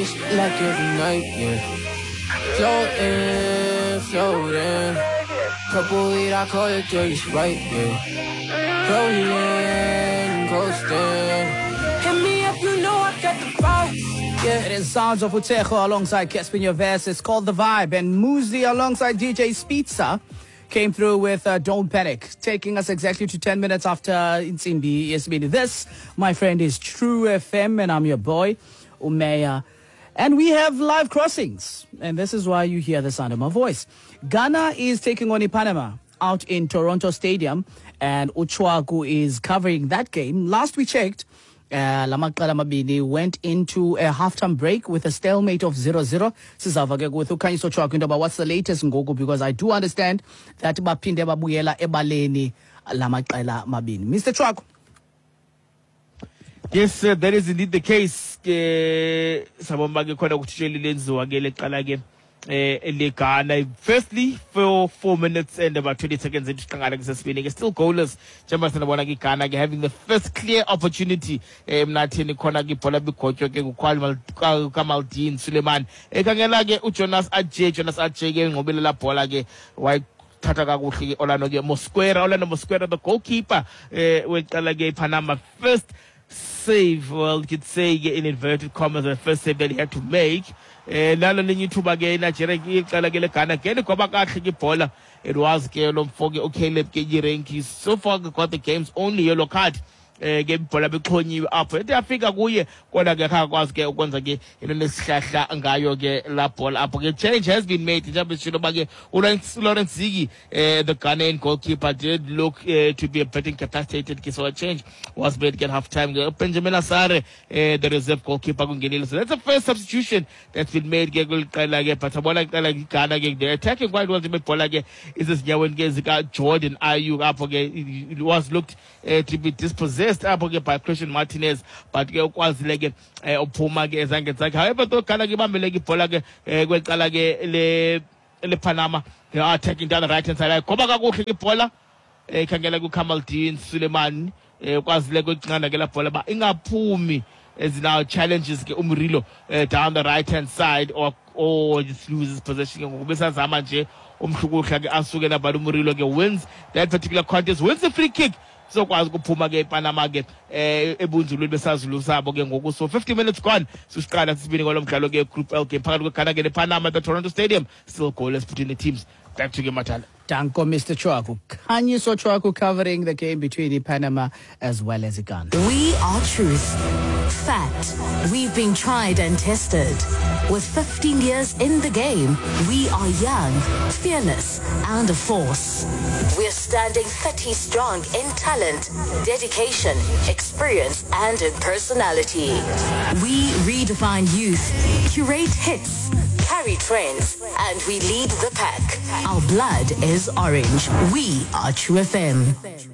Like every night, yeah. Floating, floating. Purple weed, I call it dirty Sprite, yeah. Rolling, coasting. Hit me up, you know I got the vibe. Yeah. It is Sounds of Utejo alongside Cassper Nyovest. It's called The Vibe. And Muzi alongside DJ Spitza came through with Don't Panic, taking us exactly to 10 minutes after Intsimbi Yesibini. This, my friend, is True FM, and I'm your boy, Umeya. And we have live crossings, and this is why you hear the sound of my voice. Ghana is taking on Panama out in Toronto Stadium, and Uchwaku is covering that game. Last we checked, lamaqela mabini went into a halftime break with a stalemate of 0-0. Sizava ke with uKhanyiso Tshwaku into about what's the latest ngoku, because I do understand that baphinde babuyela ebaleni lamaqela mabini. Mr. Tshwaku. Yes, sir, that is indeed the case. Sabona ke khona ukuthi lenziwa ke leqala ke leGhana. Firstly, for 4 minutes and about 20 seconds into siqala kusesibini ke still goalless. Njengoba sinabona ke Ghana ke having the first clear opportunity emnatheni khona ke ibhola bigotywe ke kuKamaldeen Suleiman. Ekhangela ke uJonas Adjei, Jonas Adjei ke ngqobile la bhola ke thatha kakuhle ke Orlando ke Mosquera, Orlando Mosquera the goalkeeper weqala ke Panama. First save, well, you could say in inverted commas, the first save that he had to make. Nalo linye ithuba ke Nigeria iqala ke leGhana ke ngoba kahle ke ibhola. It was ke lo mfo ke uCaleb ke Yirenki. So far got the game's only yellow card. Ke ibhola bexhonyiwe apho. Ethe afika kuye kodwa ke akakwazi ke ukwenza ke into nesihlahla ngayo ke la bhola apho ke. Change has been made njengoba sishilo ba ke uLawrence Zigi, the Ghanaian goalkeeper, did look to be a bit incapacitated, so a change was made at half time. Benjamin Asare, the reserve goalkeeper, kungenile. So that's the first substitution that's been made ke kuliqela ke, but abona iqela iGhana ke they're attacking quite well. Ibhola ke isezinyaweni ke zika Jordan Ayew apho ke it was looked to be dispossessed apho ke by Christian Martinez, but ke ukwazile ke uphuma ke ezandleni zakhe. However, though Ghana ke ibambile ke ibhola ke kweqala ke le Panama, they are attacking down the right hand side. Goba kakuhle ke ibhola ikhangela kuKamaldeen Suleiman, ukwazile ke la bhola ba ingaphumi as now challenges ke uMurilo down the right hand side or just loses possession ngoba besazama nje umhlukuhla ke asuke lapha. uMurilo ke wins that particular contest, wins the free kick. Sokwazi ukuphuma ke ePanama ke ebunzulweni besazulu sabo ke ngoku. So 50 minutes gone, siqala sibini kwalo mdlalo ke Group L game phakathi kweGhana ke nePanama at the Toronto Stadium. Still goalless between the teams. Back to you, Matala. Danko, Mr. Tshwaku. Khanyiso Tshwaku covering the game between Panama as well as Ghana. We are truth. Fact. We've been tried and tested. With 15 years in the game, we are young, fearless, and a force. We're standing 30 strong in talent, dedication, experience, and in personality. We redefine youth, curate hits, carry trends, and we lead the pack. Our blood is orange. We are True FM.